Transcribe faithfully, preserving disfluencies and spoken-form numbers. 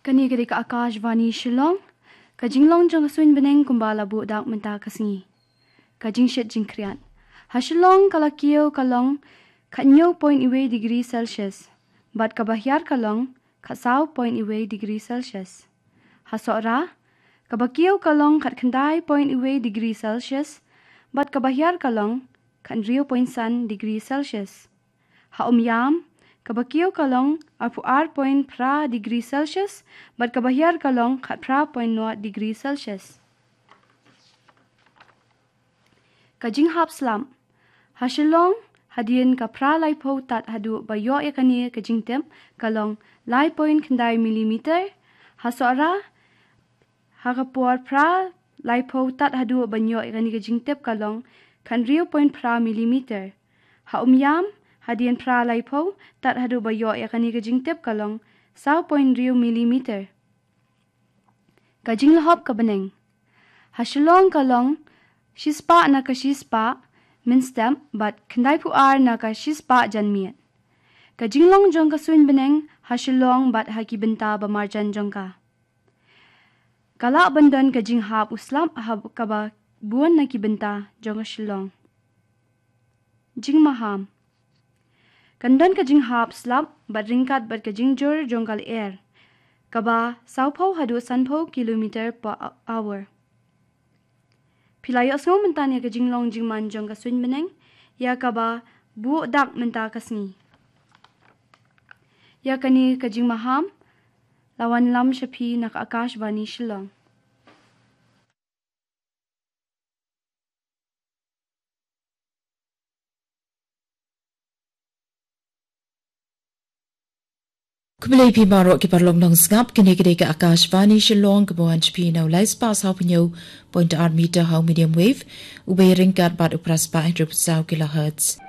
Kane ka dei ka Akashvani Shillong. Ka jinglong jong ka suiñ bneng kumba la buh dak mynta ka sngi. Ka jingshit jingkhriat. Ha Shillong ka la kiew ka long khathynñiew point wei degree Celsius. Bad kaba hiar ka long khatsaw point wei degree Celsius. Ha Sohra, kaba kiew ka long khatkhyndai point wei degree Celsius. Bad kaba hiar ka long khathynriew point san degree Celsius. Ha Umiam, kaba kiew ka long arphew ar point phra degree Celsius, bad kaba hiar ka long khatphra point nod degree Celsius. Ka jinghap slap. Ha Shillong, hadien ka phra laiphew tad haduh ba ïoh ïa kane ka jingtip, ka long lai point khyndai millimeter. Ha Sohra, ha ka por phra laiphew tad haduh ban ïoh ïa kane ka jingtip ka long khathynriew point phra millimeter. Ha Umiam, hadien phra laiphew tad haduh ba ïoh ïa kane ka jingtip ka long saw point hynriew millimeter. Ka jinglahop ka bneng. Ha Shillong ka long shispah na ka shispah mynstep bad khyndaiphew ar na ka shispah janmiet. Ka jinglong jong ka suiñ bneng ha Shillong bad ha ki bynta ba marjan jong ka. Ka lah ban don ka jinghap u slap ha kaba bun na ki bynta jong ka Shillong. Jingmaham. Kan don ka jinghap slap bad ryngkat bad ka jingjur jong ka lyer, kaba sawphew haduh sanphew kilometer per hour. Phi la ïohsngew mynta ïa ka jinglong jingman jong ka suiñ bneng, ïa kaba buh dak mynta ka sngi. Ïa kane ka jingmaham la wanlam sha phi na ka Akashvani Shillong. Khublei phi baroh ki paralok nongsngap, kane ka dei ka Akashvani Shillong kaba wan sha phi na u lai spah sawphew hynñiew point ar meter ha u medium wave, u bei ryngkat bad u phra spah hynriewphew saw kilohertz.